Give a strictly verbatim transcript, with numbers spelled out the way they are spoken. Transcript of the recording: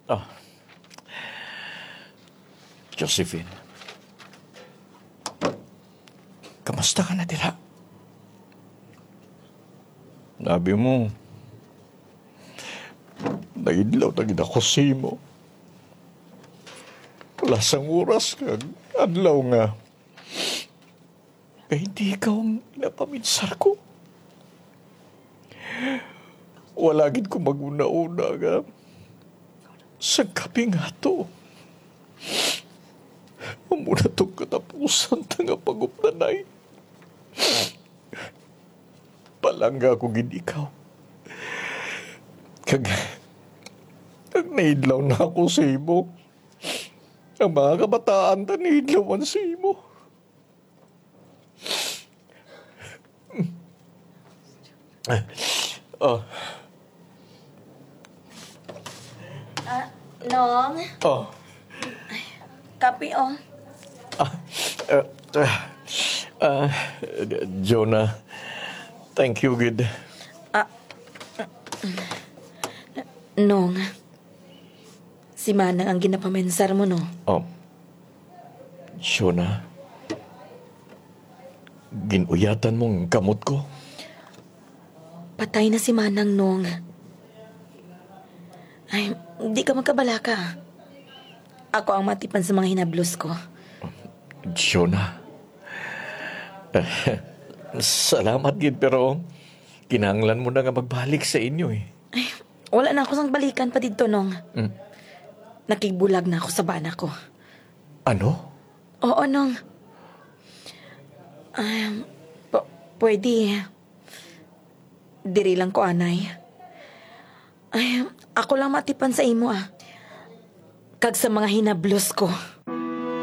Ah. Josephine, kamusta ka na dira? Sabi mo, naidlaw na gid ako sa imo. Wala sang oras kag adlaw nga, nga hindi ikaw ang napaminsar ko. Wala gid ko mag-una-una nga sa kaping ato. Amo na tong katapusan ta nga pag-updanay. Palangga ko gid ikaw. Kag, kag naidlaw na ako sa imo. Ang mga kabataan ta naidlawan sa imo. Oh. Ah, Nong, Oh. Kape, oh. Ah, uh, uh, uh, Jonah, thank you gid. Nong, si Manang ang ginapamensar mo, no? Oh. Jonah, ginuyatan mo ang kamot ko? Patay na si Manang, Nong. Ay, di ka magkabalaka. Ako ang matipan sa mga hinablos ko. Jonah, salamat gid, pero kinahanglan mo na nga magbalik sa inyo eh. Wala na ako sang balikan pa didto, Nong. Mm. Nakigbulag na ako sa bana ko. Ano? Oo, Nong. Um, p- pwede. Diri lang ko, anay. Ay, ako lang matipan sa imo, ah. Kag sa mga hinablos ko.